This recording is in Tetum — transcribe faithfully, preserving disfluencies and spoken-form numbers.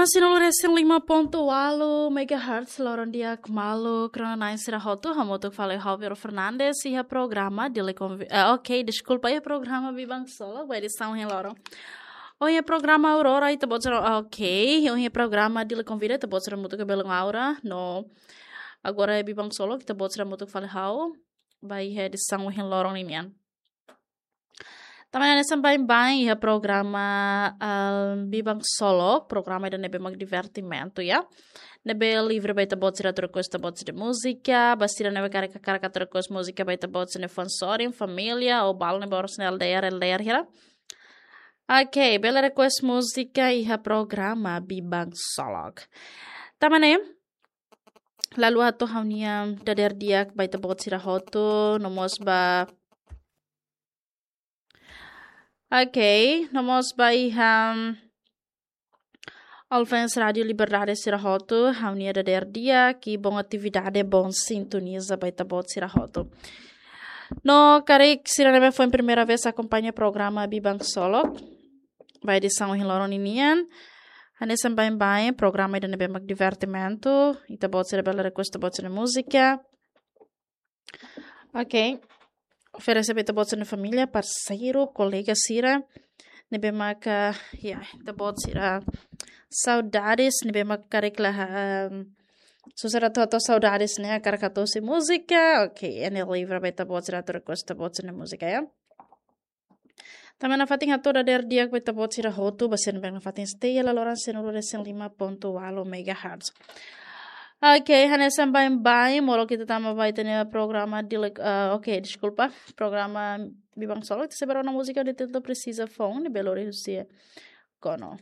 Sanulu-resin-lima pontu ualu megahertz, loron di'ak maluk rona-na'in sira hotu, hamutuk fali ha'u Vero Fernandes, iha programa Dili Konvi-, eh, oke, deskulpa, iha programa Biban Solok, ba edisaun ohin loron. Ohin iha programa Aurora, ita-boot sira, oke, ohin iha programa Dili Konvida, ita-boot sira hamutuk ho belun Aura, no agora iha Biban Solok, ita-boot sira hamutuk fali ha'u, ba iha edisaun ohin loron ninian. Tanba ne'e hanesan baibain iha programa, ah, Biban Solok, programa ida ne'ebé mak divertimentu, ya. Ne'ebé livre ba ita-boot sira atu request ita-boot sira múzika, ba sira ne'ebé karik hakarak atu request múzika ba ita-boot sira-nia fans sorin, família, ou balu ne'ebé oras ne'e L D R, L D R hira. Oke, bele request múzika iha programa Biban Solok. Tanba ne'e, la haluha atu ha'u-nia dadeer di'ak ba ita-boot sira hotu, no mós ba, oke, no mós ba iha, mm, Alfens Rádio Liberdade sira hotu, ha'u-nia dadeer di'ak, i bom atividade, bom sintoniza ba ita-boot sira hotu. No karik sira ne'ebé foin primeira vez akompaña programa Biban Solok, ba edisaun ohin loron ninian, hanesan baibain, programa ida ne'ebé mak divertimentu, ita-boot sira bele request ita-boot sira-nia múzika. Oke. Oferese ba ita-boot sira-nia família, parseiru, kolega sira ne'ebé maka, ya, ita-boot sira saudades, ne'ebé maka karik la, ehm, susar atu hato'o saudades ne'e, hakarak atu husu múzika. Oke, iha ne'e livre ba ita-boot sira atu request ita-boot sira-nia múzika, ya. Tanba nafatin hato'o dadeer di'ak ba ita-boot sira hotu, ba sira ne'ebé nafatin stay iha laloran sanulu-resin-lima pontu ualu megahertz. Oke, hanesan baibain, molok ita tama ba ita-nia programa Dili-, ah, oke, deskulpa, programa Biban Solok, ita sei bá rona múzika ida titulu Presiza Foun, ne'ebé lori husi Kono.